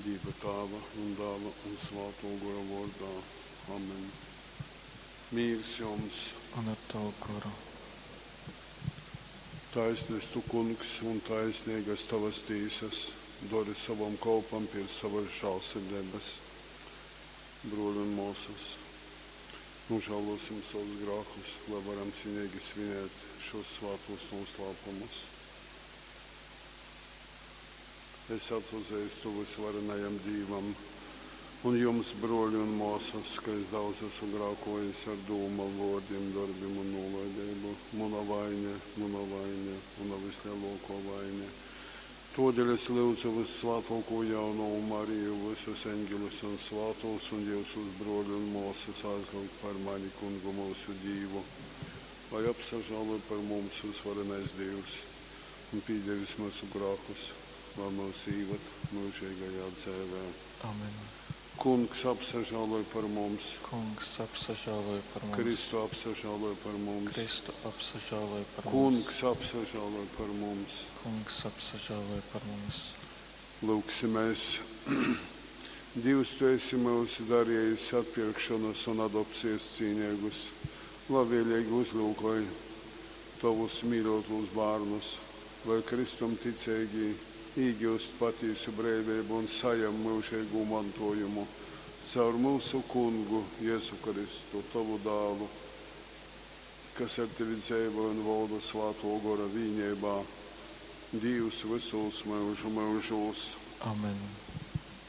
Dīva Tāva un Dāla un Svātō Gora vōrdā. Amen. Mīrs jums! Un ar tavu goru. Taisns tu, Kungs, un taisnīgas tovas tīsas, dori sovam kolpam pēc sovas žālsirdeibas. Brōļi un mōsas, nožālosim savus grākus, lai varam cienīgi svinēt šos svātos noslēpumus. Es atsazīstu visvarenajam Dīvam un jums, brōļi un māsas, ka es daudz esmu grākojis ar dūmām, vārdiem, darbiem un nolaidību. Mana vaine, mana vaine, mana vislielākā vaine. Todēļ es lūdzu vissvētāko jaunavu Mariju, visus eņģeļus un svātos un jūsus brōļi un māsas aizlūgt par mani, Kungu mūsu Dīvu, lai apsažāloj par mums visvarenais Dievs un pīdevis mūsu grākus, lai mūs īvad mūžīgajā dzēvē. Amen. Kungs apsažāloj par mums, Kungs apsažāloj par mums. Kristu apsažāloj par mums, Kristu apsažāloj par mums. Kungs apsažāloj par mums. Kungs apsažāloj par mums. Lūgsimies. Dievs, tu esi mūs darījis atpirkšanas un adopcijas cīnīgus. Labvēlīgi uzlūkoj tavus mīļotos bērnus, lai Kristum ticīgi iegūst patiesu brīvību un sajam mūžīgu mantojumu caur mūsu kungu Jēzu Kristu, tavu dēlu, kas ar tevi dzīvo un valda svāto gora vīnībā, Dievs visos mūžu mūžos. Amen.